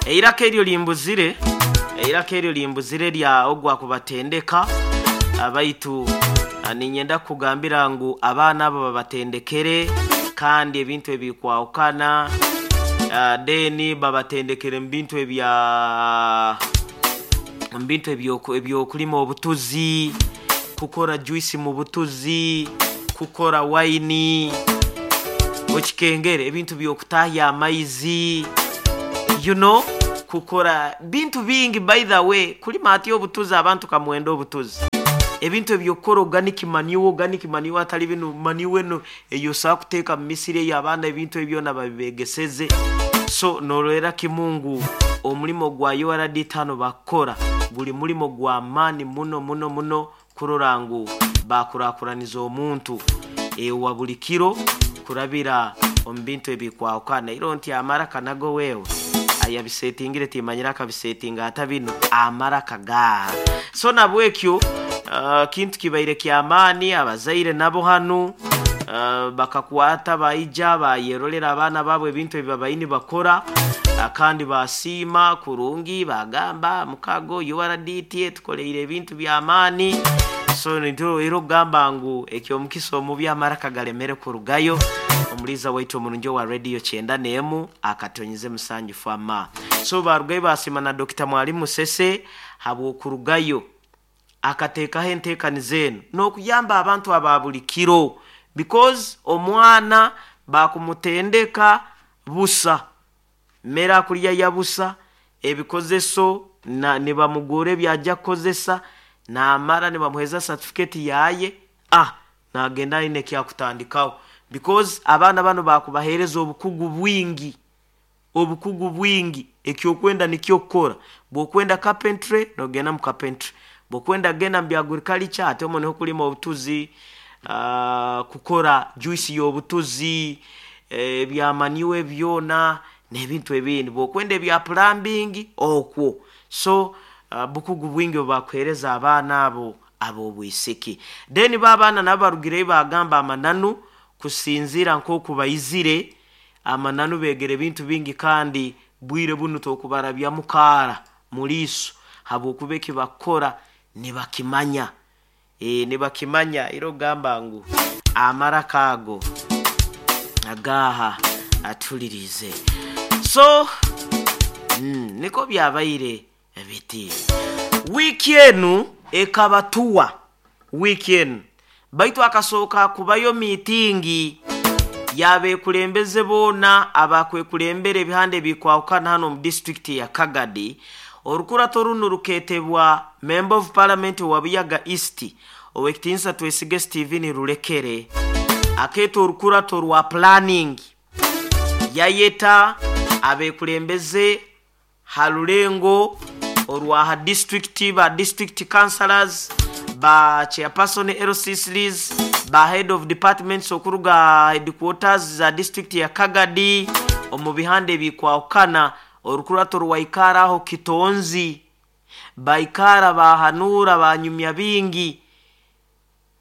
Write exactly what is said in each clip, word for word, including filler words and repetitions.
Eiraka eryo limbuzire, eiraka eryo limbuzire lya ogwa kubatendeka abaitu. Ninyenda kugambira ngu abaana abo babatendekere kandi ebintu ebikwahukana, uh, then babatendekere mu bintu ebya mu bintu ebyokulima obutuzi, kukora juice mu butuzi, kukora waini okikengere, ebintu byokutahya amaizi, you know kukora bintu bingi. By the way, kulima ati obutuzi, abantu kamwenda obutuzi, ebintu ebyokukora organic manure, organic manure atali bino manure eno eyosobola kuteeka mu misiri ey'abaana, ebintu ebyona babibegeseze. So norwera kimungu omulimo gwa U R D tano bakora guli mulimo gwa maani muno muno muno kurora ngu bakurakuraniza omuntu ewa buli kiro kurabira omu bintu ebikwahukana. Iro nti amaraka nago wewe ayabisetingire timanyira akabisetinga ata bino amaraka gaha. So nabwekyo uh, kintu kibaire kyamaani. Abazaire nabo hanu uh, bakakwata baija bayerolera abaana baabo ebintu ebi babaini bakora, uh, kandi basiima kurungi, bagamba mukago U R D T tukoleire ebintu byamaani. So era okugamba ngu ekyomukisa omubi amaraka galemere kurugayo. Omuliza waitu omurungi owa radio kyenda n'emu akatonyize musanju fama. So barugayo basiima na Dokita Mwalimu Sese habw'okurugayo akateekaho enteekaniza eno n'okuyamba abantu aba buli kiro, because omwana bakumutendeka busa, mmere akulya ya busa, ebikozeso nibamugura ebyajja kukozesa, namara nibamuheeza certificate yaye, ah nagenda aine ekyakutandikaho, because abaana bano bakubaheereza obukugu bwingi, obukugu bwingi. Ekyokwenda nikyo kukora. Bwokwenda carpentry, nogenda mu carpentry. Bwokwenda genda mu bya agriculture, ate omwo niho kulima obutuzi, uh, kukora juice y'obutuzi, ebyamaniwe byona n'ebintu ebindi. Bwokwenda ebya plumbing okwo. So uh, bukugu bwingi obubakuheereza abaana abo ab'obwisiki. Then ba abaana nabo barugireyo bagamba amananu kusinziira nk'oku baizire, amananu begere ebintu bingi, kandi bwire bunu tokubarabyamu kaara muliiso habwokuba eki bakukora nibakimanya, e, nibakimanya. Era ogamba ngu amaraka ago agaha atulirize. So mm, niko byabaire biti wiiki enu ekabatuwa wiiki enu, baitu akasooka kubayo miitingi yabekulembeze boona abakwekulembera ebihanda ebikwahukana hano omu disitulikiti ya Kagadi. Orukurato runu ruketebwa Member of Parliament wa Buyaga East, Owekitinisa Twesige Steven Rurekere. Akeeta orukurato rwa planning, yayeta abekulembeze ha rulengo orwa ha district, ba district councillors, ba chairperson L C threes, ba head of departments okuruga headquarters za district ya Kagadi omu bihanda ebikwahukana. Orukurato rwaikara aho Kitonzi, baikara bahanura, banyumya bingi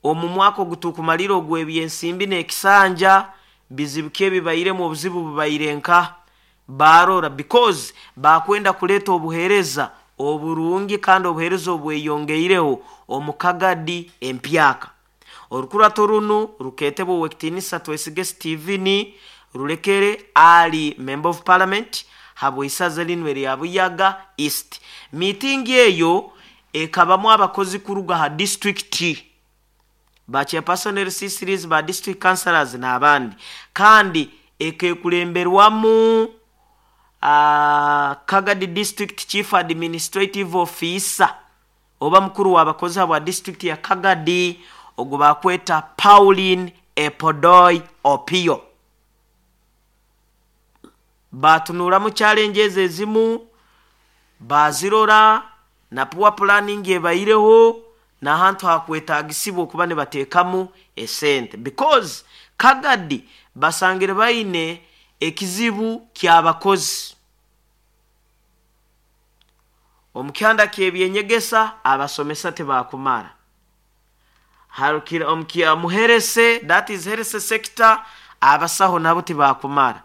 omu mwaka ogutukumalira ogw'ebyensimbi n'ekisanja, bizibu ki ebibairemu, obuzibu bubaire nka barora, because bakwenda kuleeta obuheereza oburungi kandi obuheereza obweyongeireho omu Kagadi empyaka. Orukurato runu ruketebwa Owekitinisa Twesige Steven Rurekere, ali Member of Parliament habweisaza linu erya Buyaga East. Miitingi eyo ekabamu abakozi kuruga ha disitulikiti, ba chairperson L C threes, ba district councillors n'abandi, kandi ekekulemberwamu uh, Kagadi District Chief Administrative Officer oba mukuru w'abakozi habwa district ya Kagadi, ogwo bakweta Pauline Epodoi Opio. Batunuramu challenges ezimu bazirora na poor planning ebaireho n'ahantu hakwetagisibwa okuba nibateekamu esente, because Kagadi basangire baine ekizibu ky'abakozi omu kyanda ky'ebyenyegesa, abasomesa tibakumara. Harukira omu health, that is health sector, abasaho nabo tibakumara.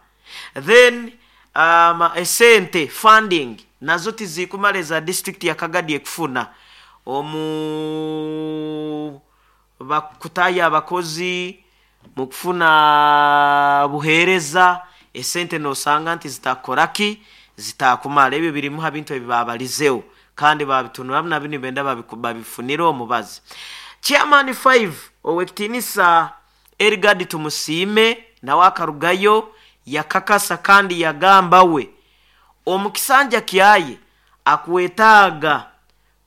Then um, esente funding nazo tizikumala eza district ya Kagadi ekufuna omu bakutaya abakozi mu kufuna buheereza, esente nosanga nti zitakoraki, zitakumala. Ebyo birimu ha bintu ebibabalizeho kandi babitunuramu nabyo nibenda babifunire omubazi. Chairman five owekitinisa Erigadi Tumusiime nawe akarugayo yakakasa kandi yagamba we omukisanja kyaye akwetaaga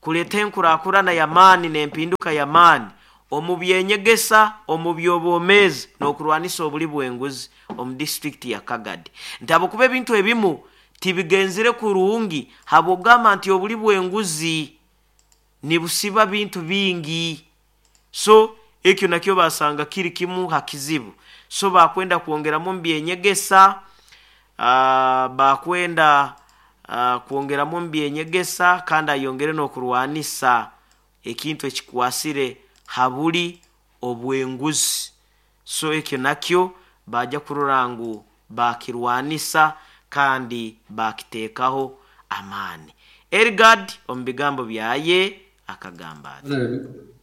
kuleta enkurakurana y'amaani n'empinduka y'amaani omu byenyegesa, omu by'obwomeezi n'okurwanisa obuli bw'enguzi omu disitulikiti ya Kagadi. Nti habwokuba ebintu ebimu tibigenzire kurungi, habw'okugamba nti obuli bw'enguzi nibusiba bintu bingi. So ekyo nakyo basanga kiri kimu ha kizibu. So bakwenda kwongeramu omu byenyegesa, uh, bakwenda uh, kwongeramu omu byenyegesa kandi ayongere n'okurwanisa ekintu ekikwasire habuli obwenguzi. So ekyo nakyo bajja kurora ngu bakirwanisa kandi bakiteekaho amaani. Erigad omu bigambo byaye akagamba ati,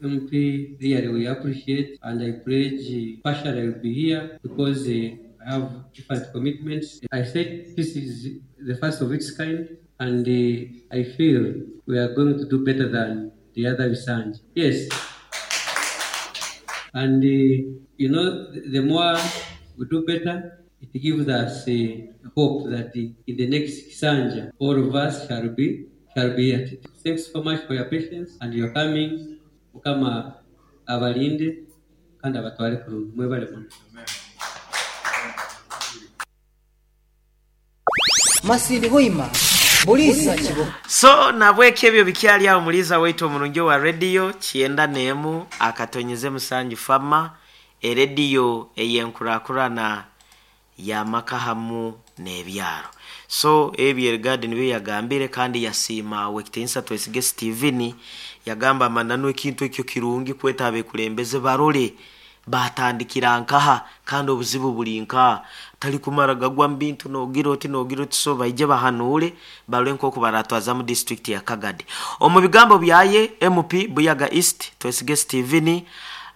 M P, really we appreciate and I pledge partially I will be here because uh, I have different commitments. I said this is the first of its kind and uh, I feel we are going to do better than the other Bisanja. Yes. And uh, you know, the more we do better, it gives us uh, hope that the, in the next Kisanja, all of us shall be shall be at it. Thanks so much for your patience and your coming. Mukama abalinde kandi abatware kurungi. Mwebale muno. Masindi Hoima Bulisa Kibo. So nabweke ebyo bikyali awo muliza waitu omurungi wa radio kyenda nemu akatonyeze musanju fama erediyo eyenkurakurana ya makahamu n'ebyaro. So ebyo Erigadi nibyo yagambire kandi yasiima wekitinsa Twesige Steven, yagamba amananu ekintu ekyo kirungi kweta abekulembeze barole batandikira nkaha kandi obuzibu buli nkaha, tali kumara gagwa mbintu nogira oti nogira oti. So baije bahanure barole nk'oku baratwaza mu district ya Kagadi. Omu bigambo byaye M P Buyaga East Twesige Steven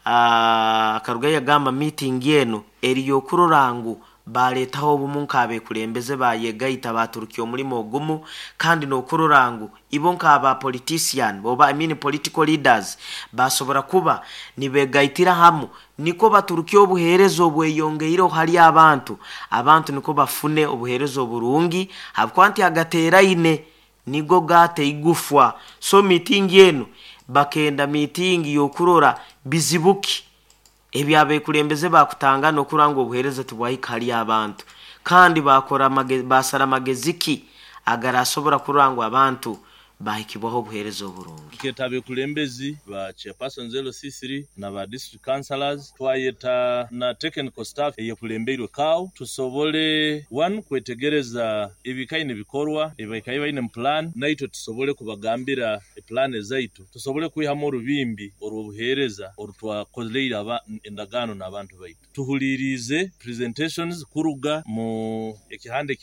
akaruga yagamba meeting eno eriyo kurora ngu baletaho obumu nk'abekulembeze bayegaita baturukiye omulimo ogumu kandi n'okurora ngu ibo nk'aba politician oba I mean political leaders basobora kuba nibegaitira hamu niko baturukiye obuheereza obweyongeireho hali abantu, abantu niko bafune obuheereza oburungi habwokuba nti agateeraine nigo gate igufwa. So meeting eno bakenda meeting y'okurora bizibuki ebyabekulembeze bakutanga n'okuranga obuheereza tibwahika hali abantu kandi bakora basara amageziki agarasobora kurangwa abantu bahikibwaho obuheereza oburungi. Keta abekulembezi ba chairpersons L C three na ba district councillors twayeta na technical staff eyekulembeirwe kawo tusobole one kwetegereza ebikaine bikorwa ebikaine baine plan naitwe tusobole kubagambira plan zaitu tusobole kwihamu orubimbi orw'obuheereza orutwakoleire aba endagaano n'abantu baitu. Tuhulirize presentations kuruga mu ekihande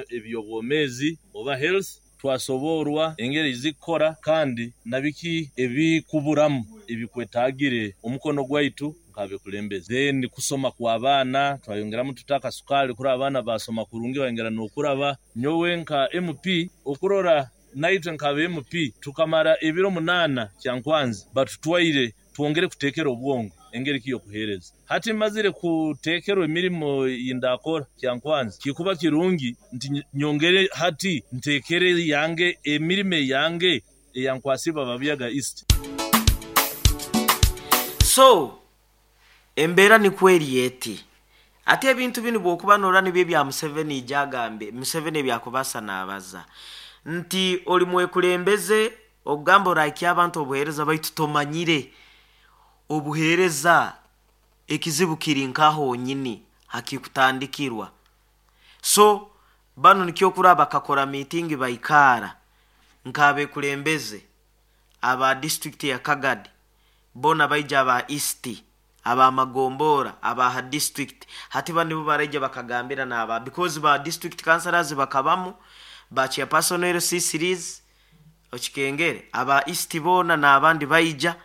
eby'obwomezi oba health twasoborwa engeri zikora kandi nabiki ebikuburamu ebikwetagire omukono gwaitu nkabekulembeze. Then kusoma kwa abaana twayongeramu tutaka sukali kuri abaana basoma kurungi bayongera n'okuraba. Nyowe nka M P okurora naitwe nka M P tukamara ebiro munana kyankwanzi batutwaire twongere kutekera obwongo engeri kiyo kuhereza. Hati mazire kutekerwa emirimo yindakora kyankwanzi kikuba kirungi nti nyongere hati ntekere yange emirime yange eyankwasiba Babuyaga East. So embera ni kweri yeti ate ebintu bino bwokuba nora nibyo bya Museveni jagambe Museveni byakubasa nabaza nti oli mwekulembeze ogamba oraiki abantu obuhereza baitu tomanyire obuhereza ekizibu kiri nkaho nyini hakikutandikirwa. So bano nikyo kuraba bakakora meeting baikara nkabe kulembeze aba district ya Kagadi bona baija aba East Abamagombora abaha district hati bandi bo baraija bakagambira naba because ba district councillors bakabamu, ba chairperson L C series okikengere aba East bona n'abandi baija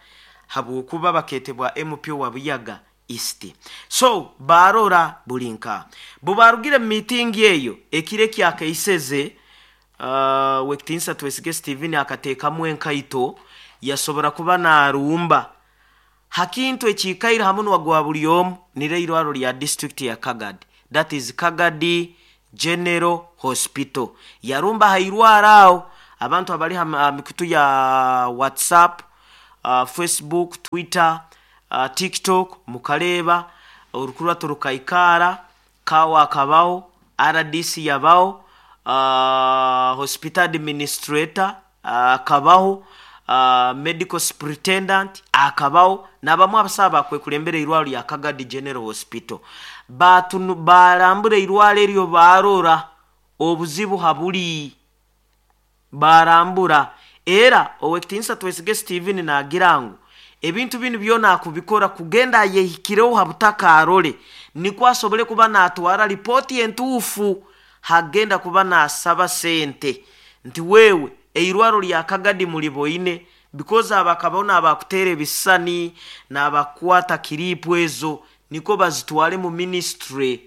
habwokuba baketebwa M P wa Buyaga East. So barora bulinka bubarugire mu meeting eyo ekire kyakaiseze. uh, wekitinsa Twesige Steven akateekamu enkaito, yasobora kuba narumba hakintu ekikaire hamunwa gwa buli omu, nire irwaro lya district ya Kagadi, that is Kagadi General Hospital. Yarumba hairwara aho abantu abali ha mikutu ya WhatsApp, uh, Facebook, Twitter, uh, TikTok, mukaleba orukurwato rukaikara kawa akabaho, R D C yabaho, uh, hospital administrator akabaho, uh, medical superintendent akabaho, nabamu abasaaba bakwekulembera irwaro lya Kagadi General Hospital. Batunu barambura irwaro eryo, barora obuzibu habuli barambura. Era owekitinisa Twesige Steven nagira ngu ebintu binu byona akubikora kugenda ayehikireho habutaka arole, nikwo asobole kuba natwara ripoti entuufu hagenda kuba nasaba sente nti wewe eirwaro lya Kagadi muliboine, because abakabaho nabakutera ebisani nabakwata kiripu ezo niko bazitwale mu ministry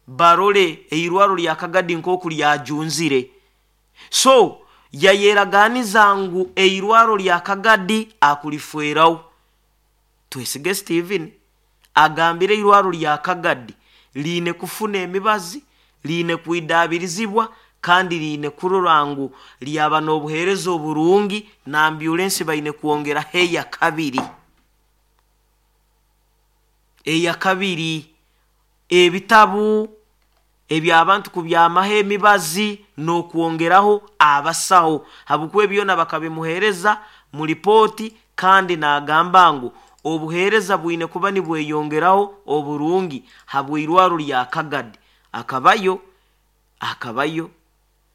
barole eirwaro lya Kagadi nkoku lyajunzire. So yayeraganiza ngu eirwaro lya Kagadi akulifwerawo. Twesige Steven agambire eirwaro lya Kagadi liine kufuna emibazi, liine kuidabirizibwa, kandi liine kurora ngu lyaba n'obuheereza oburungi, na ambulensi baine kwongeraho eya kabiri eya kabiri ebitabu ebyabantu kubyamaho emibazi n'okwongeraho abasaho, habwokuba ebyona bakabimuheereza mu ripooti. Kandi n'agamba ngu obuheereza bwine kuba nibweyongeraho oburungi habw'irwaro lya Kagadi. Akabayo akabayo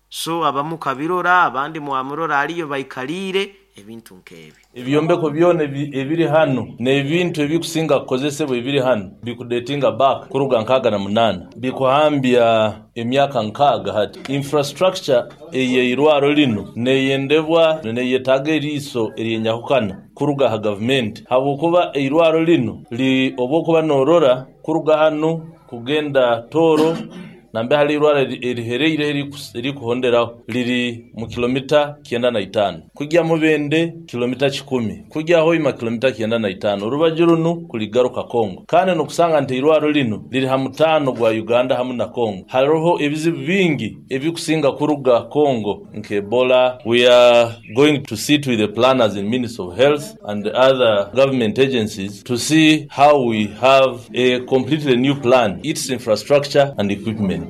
so abamu kabirora, abandi mwamurora aliyo baikaliire ebintu nk'ebi. Ebyombeko byona ebiri hano n'ebintu ebikusinga kukozesebwa ebiri hano bikudatinga back kuruga nkaaga na munaana, bikuhambya emyaka nkaaga hati. Infrastructure eyeirwaro lino neyendebwa, neyetaaga eriiso eryenyahukana kuruga ha gavumenti, habwokuba eirwaro lino li obwokuba norora kuruga hano kugenda Tooro nambe hali irwaro erihereire erikuhonderaho liri mu kilomita kyenda na itaano, kujya Mubende kilomita kikumi, kujya Hoima kilomita kyenda na itaano, orubaju runu kuligaruka Kongo. Kandi nokusanga nti irwaro lino liri ha mutaano gwa Uganda hamu na Kongo. Hariho ebizibu bingi ebikusinga kuruga Kongo nke Ebola. We are going to sit with the planners in Ministry of Health and the other government agencies to see how we have a completely new plan, its infrastructure and equipment.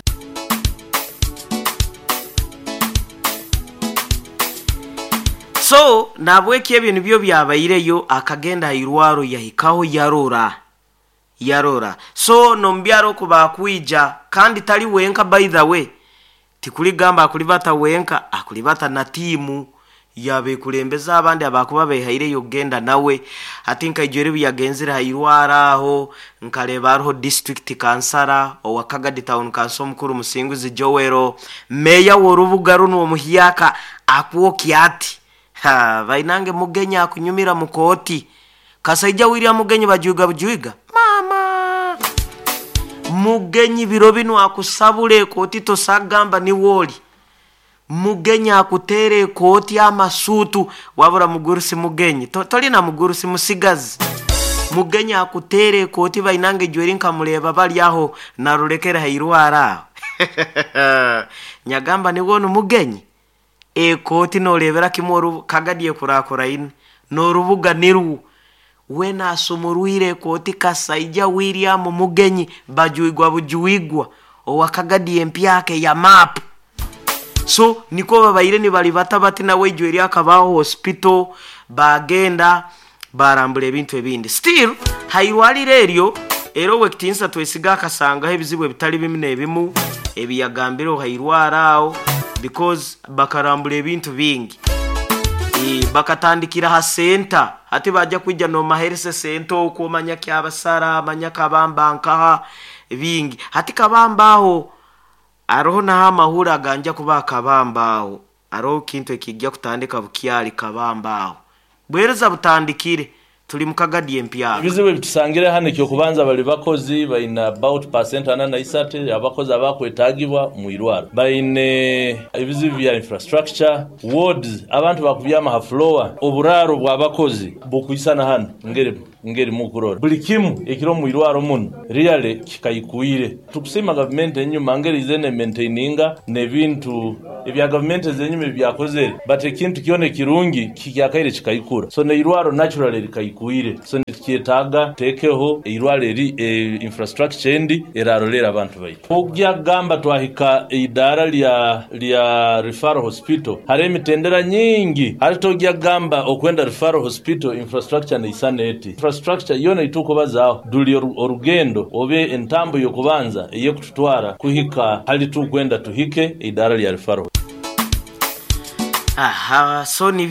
So nabweki ebyo nibyo byabaireyo. Akagenda hairwaro, yahikaho, yarora yarora So nombyaro kubakwija kandi tali wenka. By the way, tikuligamba akulibata wenka, akulibata na tiimu yabekulembeza abandi abakuba behaireyo kugenda nawe. Ati nkaijwere yagenzere hairwara aho nkaleba hariho district councillor owa Kagadi Town Council omukuru Musinguzi Joel, meya w'orubuga runo omuhyaka akwoki ati ha bainange Mugenyi akunyumira mukoti kasaija William Mugenyi bajuiga bujuiga mama Mugenyi biro bino akusabula ekooti tosagamba ni wooli Mugenyi akuteera ekooti amasuutu wabula mugurusi Mugenyi To- tolina mugurusi musigazi Mugenyi akuteera ekooti bainange jweri nkamuleba bali aho narulekera hairwara aho nyagamba niwonu Mugenyi ekooti nolebera kimwe oru- Kagadi ekurakuraine n'orubuga nirwo we nasumurwire ekooti kasaija William Mugenyi bajuigwa bujuigwa owa Kagadi empyaka ya maapu. So niko babaire nibalibata bati nawe ijwe akabaho hospital bagenda barambula ebintu ebindi. Still hairwaliro eryo era owekitinsa Twesiga akasangaho ebizibu ebitali bimu n'ebimu ebiyagambire hairwara aho, because bakarambula ebintu bingi. E, bakatandikira ha senta hati bajja kwijja nomaherese senta okwo omanya kyabasara amanya kabamba nkaha bingi hati kabamba aho aroho naho amahuri aganja kuba kabamba aho aroho kintu ekijja kutandika bukyali kabamba aho bwereza butandikire tuli mukagadi empyaka. Ebizibu ebitusangire hano ekyokubanza bali bakozi baine about percent ana na isatu abakozi abakwetagibwa mu irwaro baine ebizibu bya infrastructure wards abantu bakubyama ha floor oburaro bw'abakozi bukwisana hano ngeri ngeri mukurora buli kimu ekiro mu irwaro muno really kikayikuire. Tukusima gavumenti enyuma ngeri izene maintaininga n'ebintu ebya gavumenti ezenyuma ebyakozere, but ekintu kyona ekirungi kikyakaire kikayikura, so neirwaro naturally likayikuire, so nikyetaaga tekeho eirwaro eri e, infrastructure endi erarolera abantu baitu. Ogya gamba twahika eidara lya lya referral hospital hari emitendera nyingi hari togya gamba okwenda referral hospital infrastructure neisana eti infrastructure yona itukubazaho duli orugendo obe entambo yokubanza eyekututwara kuhika hali tukwenda tuhike eidara lya referral. Aha, so ni